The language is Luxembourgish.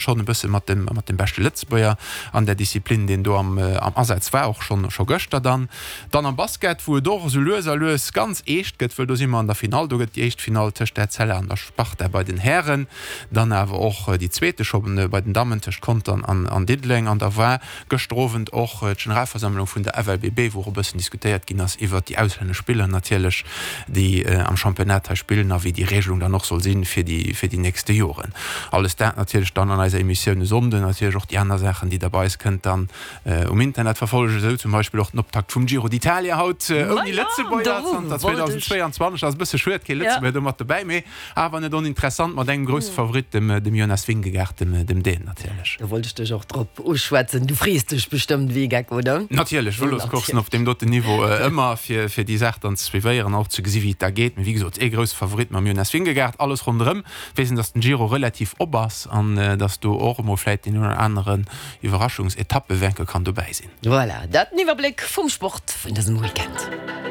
Schonn e bësse mat dem mat dem beschte Lëtzebuerger an där Disziplin, deen do am am Asaz war, och schonn scho gëschter dann. Dann am Basket, wou et och esou lues a lues ganz eescht gëtt, wëll do si mer an der Finall. Do gëtt déi éischt Finall tëscht der Etzella an der Sparta bei den Hären, dann awer och déi zweete scho bei den Dammen tëscht Contern an an Diddeleng. An da war gëschter Owend och d'Generalversammlung vun der FLBB, wou och e bëssen diskutéiert ginn ass iwwert déi auslännesch Spiller natierlech, déi am Championnat hei spillen a wéi déi Regelung dann och soll sinn fir déi fir déi nächste Joren. Alles dat natierlech dann an eiser Emissioun e Sonnden, natierlech och déi aner Saachen, déi Der bei eis kënnt dann um Internet verfollegen, esou zum Beispill och den Optakt vum Giro d'Italia haut ouni Lëtzebuerger zanter 2022. Ass e bësse schued, kee Lëtzebuerger do mat dobäi, mee Awer net oninteressant, mat engem grousse Favorit, dem Jonas Vingegaard, dem Dän natierlech. Do wollt ech dech och drop uschwätzen. Du frees dech bestëmmt wéi e Geck, oder? Natierlech, Vëloscourssen op deem doten Niveau ëmmer, fir déi Saach dann ze suivéieren an och ze gesi wéi et da geet. Mee wéi gesot, ee grousse Favorit mam Jonas Vingegaard. Alles ronderëm weess een, datt den Giro relativ op ass an datt do och emol vläit deen een oder aneren Iwwerraschungsetappewänke kann dobäi sinn. Voilà, dat den Iwwerbléck vum Sport vun dësem Weekend.